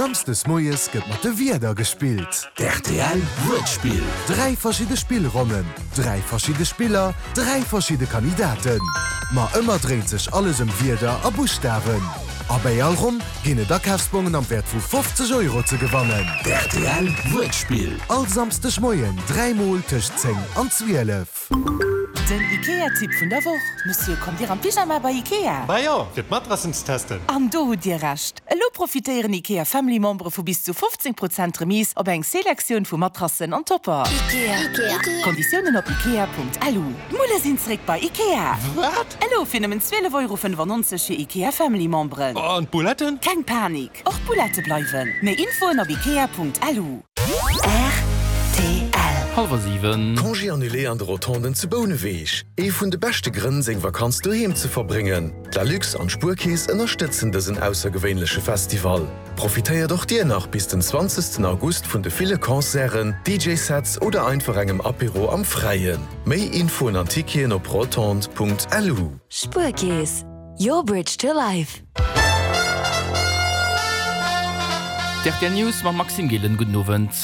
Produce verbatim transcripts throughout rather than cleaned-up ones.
Samsdes moies gëtt mat de Wierder gespillt. D'RTL Wuertspill. Dräi verschidde Spillronnen, dräi verschidde Spiller, dräi verschidde Kandidaten. Ma ëmmer dréint sech alles ëm Wierder a Buschtawen. A bei all Ronn ginn et Akafsbongen am Wäert vu fofzeg Euro ze gewannen. D'RTL Wuertspill. All Samsdeg Moien dräi Mol tëscht zéng an zwielef. Den Ikea-Tipp vun der Woch, Monsieur, kommt Dir am Pyjama bei Ikea? Bah jo, fir d'Matrassen ze testen. An do hutt Dir Recht. Elo profitéieren Ikea Family Membere vu bis zu fofzéng Prozent Remise op eng Selektioun vu Matrassen an Topper. Ikea. Konditiounen op ikea.lu. D'Mulle sinn zeréck bei Ikea! Wat? Elo fir nëmmen zwielef Euro fënnefannonzeg fir Ikea Family Memberen. An d'Bouletten? Keng Panik, och d'Boulette bleiwen. Méi Infoen op ikea.lu. Rtl. Hallwer siwen. Congé annulé an de Rotonden zu Bouneweg. Ee vun de beschte Grënn, seng Vakanz doheem ze verbréngen. D'Lalux an d'Spuerkeess ënnerstëtzen dësen aussergewéinleche Festival. Profitéiert och dir nach bis den zwanzegsten August vun de ville Concerten, D J-Sets oder einfach engem Apéro am Fräien. Méi Infoen an Ticketen op rotondes Punkt lu. Spuerkeess, your bridge to life. D R T L News mam Maxime Gillen. Gudden Owend.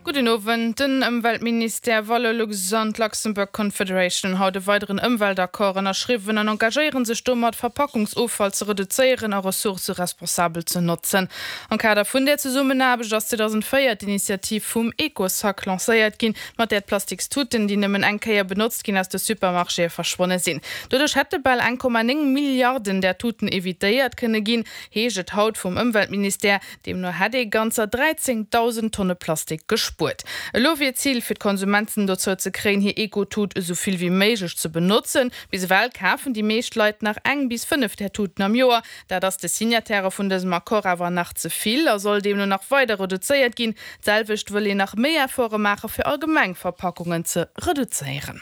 Gudden Owend. Den Ëmweltministère, Valorlux an d'Luxembourg Confederation hunn haut e weideren Ëmweltaccord ënnerschriwwen an engagéiere sech domat, Verpackungsoffall ze reduzéieren a Ressourcë responsabel ze notzen. Am Kader vun der Zesummenaarbecht ass zweedausendvéier d'Initiativ vum Ecosac lancéiert ginn, mat där d'Plastikstuten, déi nëmmen eng Kéier benotzt ginn, aus de Supermarchéë verschwonne sinn. Doduerch hätte bal eng Komma néng Milliarden där Tuten evitéiert kënne ginn, heescht et haut vum Ëmweltministère. Deemno hätt ee ganzer dräizéngdausend Tonne Plastik gespuert. Elo wier d'Zil fir d'Konsumenten dozou ze kréien, hir Eco-Tut esou vill wéi méiglech ze benotzen. Bis ewell kafen déi meescht Leit nach eng bis fënnef där Tuten am Joer. Dat ass de Signatairë vun dësem Accord awer nach ze vill a soll deemno nach weider reduzéiert ginn. D'selwecht wëll een nach méi Efforte maache fir allgemeng Verpackungen ze reduzéieren.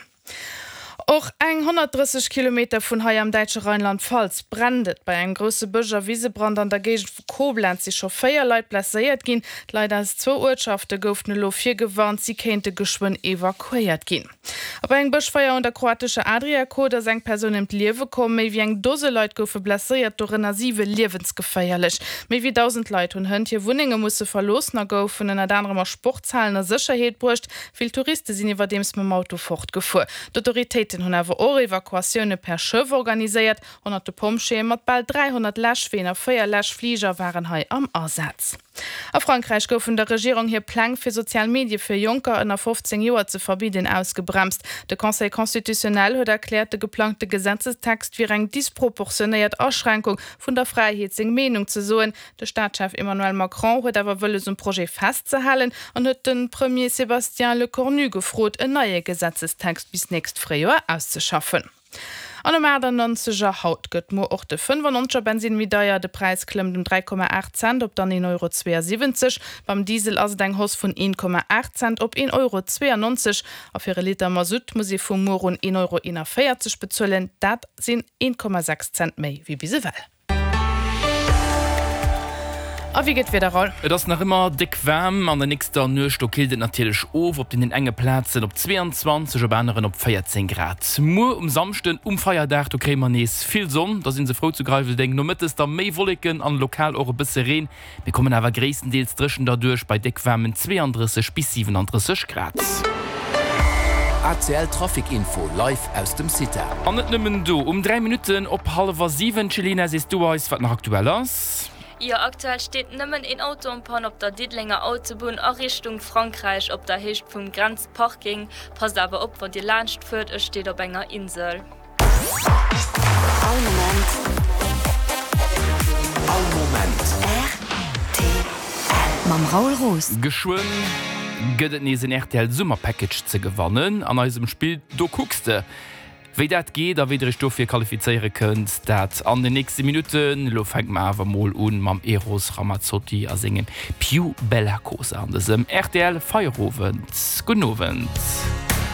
Och eng honnertdrësseg Kilometer vun hei am däitsche Rheinland-Pfalz brennt et. Bei engem grousse Bësch a Wisebrand an der Géigend vu Koblenz si scho véier Leit blesséiert ginn. D'Leit aus zwou Uertschafte goufen elo virgewarnt, si kéinte geschwënn evakuéiert ginn. A bei engem Bëschfeier un der kroatescher Adriakot ass eng Persoun ëm d'Liewe komm. Méi wéi eng Dose Leit goufe blesséiert, dorënner siwe liewensgeféierlech. Méi wéi dausend Leit hunn hënt hir Wunnenge musse verloossen a goufen ënnert anerem a Sportshalen a Sécherheet bruecht. Vill Touriste sinn iwwerdeems mam Auto fortgefuer. D'autoritéiten hunn awer och Evakuatioune per Schëff organiséiert. Honnerte Pompjeeë mat bal dräihonnert Läschween a véier Läschfliger waren hei am Asaz. A Frankräich goufen der Regierung hir Pläng fir sozial Medie fir Jonker ënner fofzéng Joer ze verbidden ausgebremst. De Conseil constitutionnel huet erkläert, de geplangte Gesetzestext wier eng disproportionéiert Aschränkung vun der Fräiheet seng Meenung ze soen. De Staatschef Emmanuel Macron huet awer wëlles um Projet festzehalen an huet de Premier Sébastien Lecornu gefrot, en neie Gesetzestext bis nächst Fréijoer auszeschaffen. An um aachtannonzeger haut gëtt muer och de fënnefannonzeger Bensinn méi deier. De Präis klëmmt ëm dräi Komma aacht Cent op dann een Euro zweeësiwwenzeg. Beim Diesel ass et eng Hausse vun een Komma aacht Cent op een Euro zweeënnonzeg. A fir e Liter Masutt muss ee vu muer un een Euro eenavéierzeg bezuelen. Dat sinn een Komma sechs Cent méi wéi bis ewell. A wéi gëtt d'Wieder, Raoul? Et ass nach ëmmer déck waarm. An der nächster Nuecht do killt et natierlech of, op deenen enge Plazen op zweeanzwanzeg, op aneren op véierzéng Grad. Muer um Samschden, um Feierdag, do kréie mer nees vill Sonn, da si se frou zu Greiweldeng. Nomëttes da méi Wolleken an lokal och e bësse Reen. Mir kommen awer gréisstendeels dréchen derduerch bei déck waarmen zweeandrësseg bis siwenandrësseg Grad. A C L Trafic Info live aus dem CITA. An net nëmmen do, um dräi Minutten op hallwer siwen, Céline, sees du eis, wat nach aktuell ass? Jo, aktuell steet nëmmen een Auto en panne op der Diddelenger Autobunn a Richtung Frankräich op der Héicht vum Grenzparking. Passt awer op wann Dir laanscht fuert, e steet op enger Insel. All Moment. All Moment. R T L mam Raoul Roos. Geschwënn gëtt et nees en R T L Summer Package ze gewannen an eisem Spill Do kucks de. Wéi dat geet a wéi der iech dofir qualifizéiere kënnt, dat an den nächste Minutten. Elo fänke mer awer mol un mam Eros Ramazzotti a sengem Più Bella Cosa an dësem R T L Feierowend. Gudden Owend.